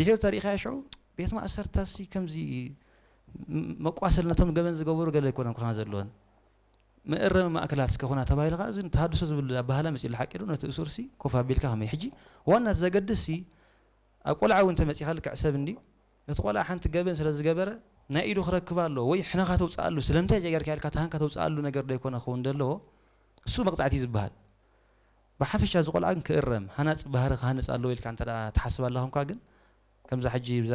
ድሒሩ ተሪእኻዮ ሽዑ ቤት ማእሰርታሲ ከምዚ መቋሰል ነቶም ገበን ዝገበሩ ገለ ኣይኮነን ክኾና ዘለወን። መእረሚ ማእከላት እስከ ኮና ተባሂሉ ከዓ እዚ ተሃድሶ ዝብል ኣባህላ መፅኡ ሓቂ ዶ ነቲ እሱርሲ ኮፍ ኣቢልካ ከመይ ሕጂ ዋና ዘገድስሲ ኣብ ቆልዓ እውን ተመፂኻ ልክዕ ሰብ እንዲ ነቲ ቆልዓ ሓንቲ ገበን ስለ ዝገበረ ናይ ኢዱ ክረክብ ኣሎ ወይ ሕነኻ ተውፅኣሉ ስለምንታይ ዘይገርካ ኢልካ ተሃንካ ተውፅኣሉ ነገር ዶ ይኮነ ክኸውን ዘለዎ እሱ መቕፃዕቲ ዝበሃል ብሓፈሻ እዚ ቆልዓ ግን ክእረም ሃናፂ ባህሪ ክሃንፅ ኣለዎ ኢልካ እንተ ትሓስብ ኣለኹምካ ግን ከምዛ ሕጂ ብዛ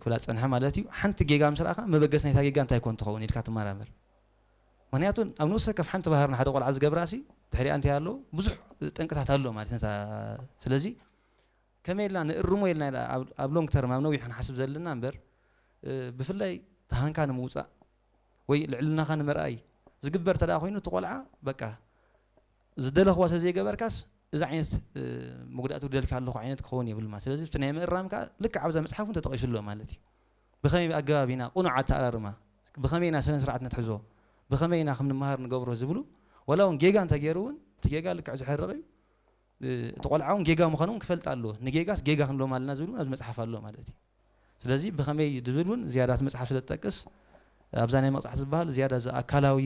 ክብላ ዝፀንሐ ማለት እዩ ሓንቲ ጌጋ ምስ ረኣኻ መበገስ ናይታ ጌጋ እንታይ ኮን ትኸውን ኢልካ ትመራመር ምክንያቱ ኣብ ንኡስ ከፍ ሓንቲ ባህር ንሓደ ቆልዓ ዝገብራ ሲ ድሕሪኣ እንታይ ኣሎ ብዙሕ ጠንቅታት ኣሎ ማለት ነታ ስለዚ ከመይ ኢልና ንእርሞ ኢልና ኣብ long term ኣብ ነዊሕ ክንሓስብ ዘለና እምበር ብፍላይ ተሃንካ ንምውፃእ ወይ ልዕልናኻ ንምርኣይ ዝግበር ተደኣ ኮይኑ እቲ ቆልዓ በቃ ዝደለኽዋ ስለ ዘይገበርካስ እዚ ዓይነት መጉዳእቲ ውደልካ ኣለኹ ዓይነት ክኸውን የብልማ ስለዚ እቲ ናይ ምእራም ከዓ ልክዕ ኣብዛ መፅሓፍ እውን ተጠቂሱ ኣሎ ማለት እዩ ብኸመይ ኣገባብ ኢና ቁኑዕ ኣተኣራርማ ብኸመይ ኢና ስነ ስርዓት ነትሕዞ ብኸመይ ኢና ከም ንመሃር ንገብሮ ዝብሉ ወላ እውን ጌጋ እንተገይሩ እውን እቲ ጌጋ ልክዕ ዝሕርቕ እዩ እቲ ቆልዓ እውን ጌጋ ምዃኑ እውን ክፈልጥ ኣለዎ ንጌጋስ ጌጋ ክንሎም ኣለና ዝብል እውን ኣብዚ መፅሓፍ ኣሎ ማለት እዩ ስለዚ ብኸመይ ዝብል እውን ዝያዳ እቲ መፅሓፍ ስለ ዝጠቅስ ኣብዛ ናይ መቕፃዕቲ ዝበሃል ዝያዳ እዚ ኣካላዊ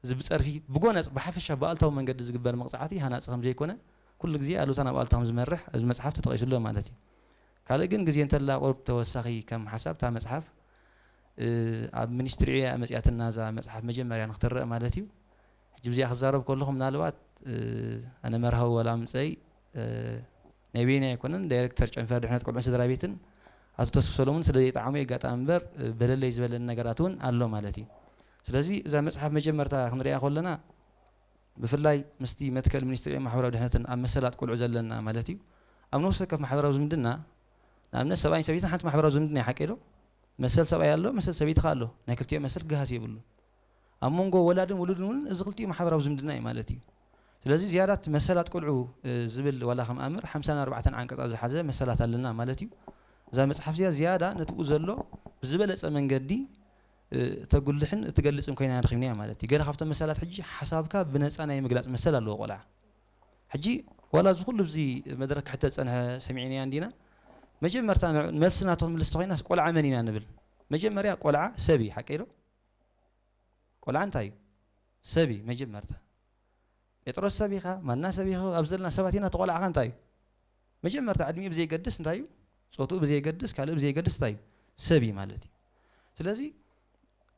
እዚ ብፀርፊ ብጎነፅ ብሓፈሻ ብኣልታዊ መንገዲ ዝግበር መቕፃዕቲ ሃናፂ ከም ዘይኮነ ኩሉ ግዜ ኣሉታ ናብ ኣልታ ከም ዝመርሕ ኣብዚ መፅሓፍ ተጠቂሱ ኣሎ ማለት እዩ ካልእ ግን ግዜ እንተላ ቁሩብ ተወሳኺ ከም ሓሳብ እታ መፅሓፍ ኣብ ሚኒስትሪ ዕዮ እያ መፅያትና እዛ መፅሓፍ መጀመርያ ንክትረአ ማለት እዩ ሕጂ ብዚኣ ክዛረብ ከለኹ ምናልባት ኣነ መርሃዊ ወላ ምፀይ ናይ በይነይ ኣይኮነን ዳይሬክተር ጨንፈር ድሕነት ቆልዑን ስድራ ቤትን ኣቶ ተስፉ ሰሎሙን ስለ ዘይጠዓሙ ኣጋጣሚ እምበር በለለይ ዝበለኒ ነገራት እውን ኣሎ ማለት እዩ ስለዚ እዛ መፅሓፍ መጀመርታ ክንሪኣ ከለና ብፍላይ ምስቲ መትከል ሚኒስትሪ ማሕበራዊ ድሕነትን ኣብ መሰላት ቆልዑ ዘለና ማለት እዩ ኣብ ነፍሲ ወከፍ ማሕበራዊ ዝምድና ንኣብነት ሰብኣይን ሰበይትን ሓንቲ ማሕበራዊ ዝምድና ይሓቀ ዶ መሰል ሰብኣይ ኣሎ መሰል ሰበይቲ ኣሎ ናይ ክልቲኦ መሰል ክገሃስ የብሉ ኣብ መንጎ ወላድን ውሉድን እውን እዚ ክልቲኡ ማሕበራዊ ዝምድና እዩ ማለት እዩ ስለዚ ዝያዳ እቲ መሰላት ቆልዑ ዝብል ዋላ ከም ኣምር ሓምሳን ኣርባዕተን ዓንቀፃት ዝሓዘ መሰላት ኣለና ማለት እዩ እዛ መፅሓፍ እዚኣ ዝያዳ ነትኡ ዘሎ ብዝበለፀ መንገዲ እተጉልሕን እትገልፅን ኮይና ረኺብናያ ማለት እዩ ገለ ካብቶም መሰላት ሕጂ ሓሳብካ ብነፃ ናይ ምግላፅ መሰል ኣለዎ ቆልዓ ሕጂ ዋላ እዚ ኩሉ እዚ መድረክ ክሕተት ፀንሐ ሰሚዕናያ እንዲና መጀመርታ መልሲ ናቶም ምልስቲ ኮይናስ ቆልዓ መን ኢና ንብል መጀመርያ ቆልዓ ሰብ እዩ ሓቀ ኢሎ ቆልዓ እንታይ እዩ ሰብ እዩ መጀመርታ ጴጥሮስ ሰብ ኢኻ ማና ሰብ ኢኻ ኣብ ዘለና ሰባት ኢና ተቆልዓኻ እንታይ እዩ መጀመርታ ዕድሚኡ ብዘይገድስ እንታይ እዩ ፆትኡ ብዘይገድስ ካልእ ብዘይገድስ እንታይ እዩ ሰብ እዩ ማለት እዩ ስለዚ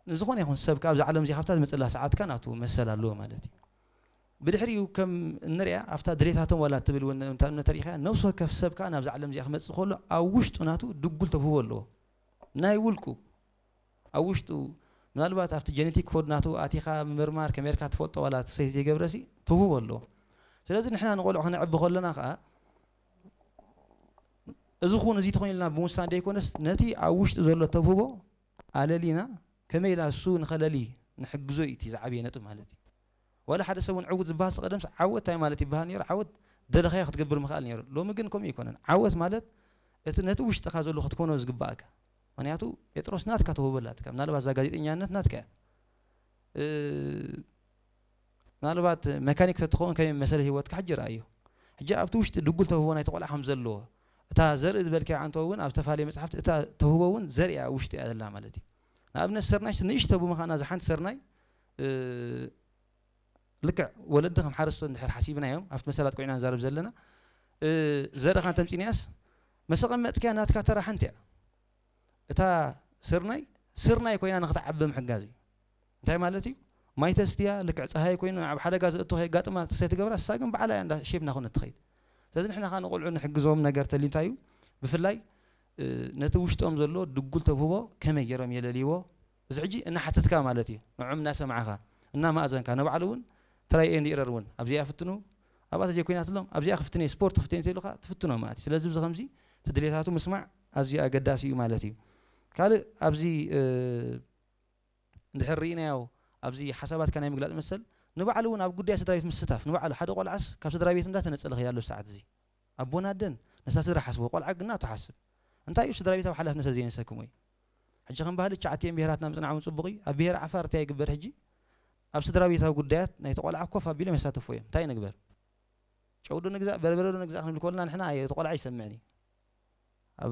ንዝኾነ ይኹን ሰብ ካብ ዓለም እዚኣ ካብታ ዝመፅላ ሰዓትካ ናቱ መሰል ኣለዎ ማለት እዩ ብድሕሪኡ ከም እንሪኣ ኣብታ ድሌታቶም ዋላ ትብል እውን እንተሪኢኻ ነብሲ ወከፍ ሰብ ከዓ ናብዛ ዓለም እዚኣ ክመፅእ ከሎ ኣብ ውሽጡ ናቱ ድጉል ተውህቦ ኣለዎ ናይ ውልቁ ኣብ ውሽጡ ምናልባት ኣብቲ ጀነቲክ ኮድ ናቱ ኣቲኻ ምምርማር ከመርካ ትፈልጦ ዋላ ትሰይ ዘይገብረሲ ተውህቦ ኣለዎ ስለዚ ንሕና ንቆልዑ ክነዕቢ ከለና ከዓ እዚ ኹን እዚ ትኾን ኢልና ብምውሳን ደይኮነስ ነቲ ኣብ ውሽጡ ዘሎ ተውህቦ ኣለሊና ከመይ ኢላ እሱ ንኸለሊ ንሕግዞ እዩ እቲ ዝዓብየ ነጥብ ማለት እዩ ዋላ ሓደ ሰብ እውን ዕውት ዝበሃል ቀደምስ ዓወት እንታይ ማለት ይበሃል ነይሩ ዓወት ደለኻዮ ክትገብር ምኽኣል ነይሩ ሎሚ ግን ከምኡ ይኮነን ዓወት ማለት እቲ ነቲ ውሽጥኻ ዘሎ ክትኮኖ ዝግባእካ ምክንያቱ ጴጥሮስ ናትካ ተውህቦ ኣላትካ ምናልባት እዛ ጋዜጠኛነት ናትካ እያ ምናልባት መካኒክ ተትኸውን ከመይ መሰለ ህይወትካ ሕጂ ረኣዮ ሕጂ ኣብቲ ውሽጢ ድጉል ተውህቦ ናይቲ ቆልዓ ከም ዘለዎ እታ ዘርኢ ዝበልካያ ዓንቶ እውን ኣብ ዝተፈላለየ መፅሓፍቲ እታ ተውህቦ እውን ዘርእያ ውሽጢ እያ ዘላ ማለት እዩ ንኣብነት ስርናይ ንእሽቶ ብምዃና እዛ ሓንቲ ስርናይ ልክዕ ወለዲ ከም ሓረስቶ እንድሕር ሓሲብናዮም ኣብቲ መሰላት ኮይና ንዛረብ ዘለና ዘርእኻ እንተምፂናያስ መሰቐመጥክያ ናትካ ተራ ሓንቲ እያ እታ ስርናይ ስርናይ ኮይና ንክትዓቢ ምሕጋዝ እዩ እንታይ ማለት እዩ ማይ ተስትያ ልክዕ ፀሃይ ኮይኑ ኣብ ሓደጋ ዘእቶ ከየጋጥማ ተሰይ ትገብራ እሳ ግን ባዕላ እያ እንዳ ሼፕ እናኮነት ትኸይድ ስለዚ ንሕና ከዓ ንቆልዑ ንሕግዞም ነገር ተሊ እንታይ እዩ ብፍላይ ነቲ ውሽጦም ዘሎ ድጉል ተብህቦ ከመይ ገይሮም የለልይዎ እዚ ሕጂ እናሓተትካ ማለት እዩ ንዖም እናሰማዕኻ እናማእዘንካ ንባዕሉ እውን ትራይ ኤንድ ኢረር እውን ኣብዚኣ ፍትኑ ኣብኣ ተዘይኮይናትሎም ኣብዚኣ ክፍትነ ስፖርት ክፍትነ ተይሉካ ትፍትኖ ማለት እዩ ስለዚ ብዚ ከምዚ እቲ ድሌታቱ ምስማዕ ኣዝዩ ኣገዳሲ እዩ ማለት እዩ ካልእ ኣብዚ እንድሕር ርኢናዮ ኣብዚ ሓሳባትካ ናይ ምግላፅ መሰል ንባዕሉ እውን ኣብ ጉዳይ ስድራ ቤት ምስታፍ ንባዕሉ ሓደ ቆልዓስ ካብ ስድራ ቤት እንዳተነፀለ ከይዳሎ ሰዓት እዚ ኣቦን ኣደን ነታ ስድራ ሓስቦ ቆልዓ ግና ትሓስብ እንታይ እዩ ስድራ ቤታዊ ሓላፍነት ዘይነሰክሞ እዩ ሕጂ ከም ባህሊ ቻዕትየን ብሄራትና ምፅናዕውን ፅቡቕ እዩ ኣብ ብሄር ዓፋር እንታይ ይግበር ሕጂ ኣብ ስድራ ቤታዊ ጉዳያት ናይቲ ቆልዓ ኮፍ ኣቢሎም የሳተፎ እዮም እንታይ ንግበር ጨውዶ ንግዛእ በርበረዶ ንግዛእ ክንብል ከለና ንሕና እቲ ቆልዓ ይሰምዕን እዩ ኣብ